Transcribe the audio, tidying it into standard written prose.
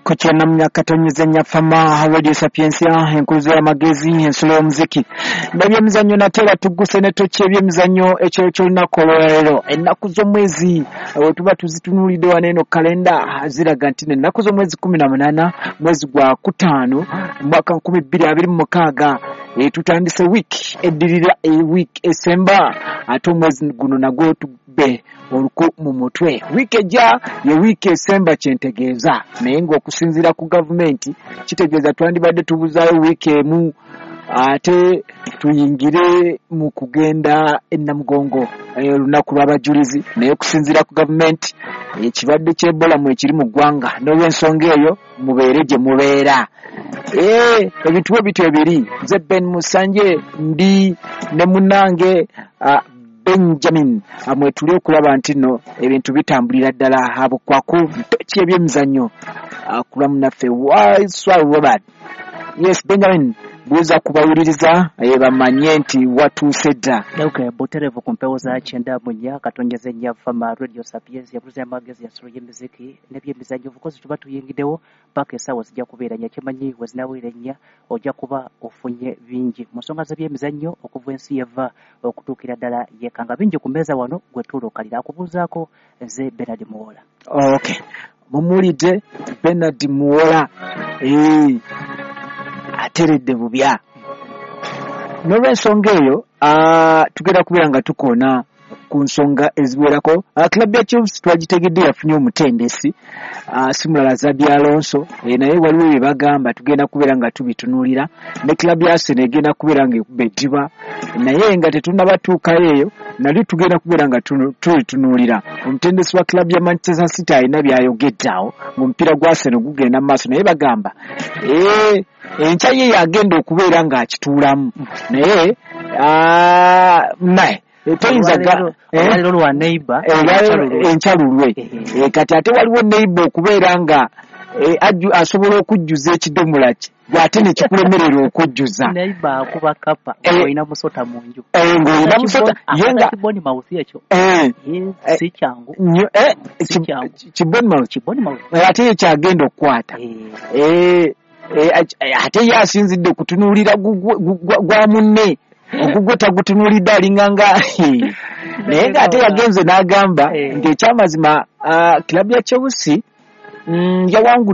Kukyana mu myaka tonyeze Nyafama Radio Sapiensia, enkuzo y'amagezi, ensulo y'omuziki n'ebyemizannyo. Nate era tugguse ne toki ebyemizannyo ekiro ky'olunaku olwaleero. Ennaku z'omwezi we tuba tuzitunuulidde wano eno kalenda ziraga nti ennaku z'omwezi 18 mwezi gwa 5 mwaka 2026. Tutandise wiiki eddirira, wiiki esemba, ate omwezi guno nagwo tugbe oluku mu mutwe. Wiiki ejja ye wiiki esemba kyentegeeza, naye ng'okusinziira ku gavumenti kitegeeza twandibadde tubuzaayo wiiki emu ate tuyingire mu kugenda e Namugongo, olunaku lw'abajulizi. Naye okusinziira ku gavumenti, ekirwadde ky'Ebola mu ekiri mu ggwanga, n'olw'ensonga eyo mubeere gye mubeera. Ebintu bwe bityo ebiri. Nze Ben Musanje, ndi ne munnange Benjamin, mwetuli okulaba nti nno ebintu bitambulira ddala abukwaku ntoki ebyemizannyo kulwa munnaffe Waiswa Robert. Yes, Benjamin, buuza kubawuliriza bamanye nti watuuse dda. Okay, butereevu ku mpewo za 94.4 Fama Radio Sapiens, yabuza amagezi, ya solo y'emiziki n'ebyemizannyo. Obukozi tuba tuyingiddewo paka essaawa zijja kubeera 4. Kyemanyi we zinaawera 4 ojja kuba ofunye bingi mu nsonga z'ebyemizannyo okuva ensi yeva okutuukira ddala yekanga bingi ku mmeeza wano gwe tuuluukalira akubuuzaako nze Benard Muwola. Okay, mumuwulidde Benard Muwola, ateredde bubya. N'olwensonga eyo tugenda kubeera nga tukoona ku nsonga eziwerako. Club ya Chelsea twagitegedde yafunye omutendesi, si mulala Xabi Alonso, naye waliwo bye bagamba tugenda kubeera nga tubitunuulira. Ne club ya Arsenal egenda kubeera nga ekuba eddiba, naye nga tetunnabatuukayo eyo nalyo tugenda kubeera nga tulitunuulira. Omutendesi wa club ya Manchester City alina byayogedde awo ng'omupiira gwa Arsenal gugenda mu maaso, naye bagamba enkya ye yagenda okubeera ng'akituulamu, naye naye toyinza olwaleero lwa neighbor. Enkya lulwe. Kati ate waliwo neighbor okubeera nga asobola okujjuza ekidomola kye ate nekikulemerera okujjuza. Neighbor akuba kapa olina musota mu nju. Ng'olina musota ye nga kiboni mouth ekyo si kyangu. Kiboni mouth kiboni mouth ate ye kyagenda okukwata, ate ye asinzidde kutunuulira gwa munne, ogugwe tagutunuulidde, alinga nga naye ng'ate yagenze n'agamba nti ekyamazima club ya Chelsea yawangudde.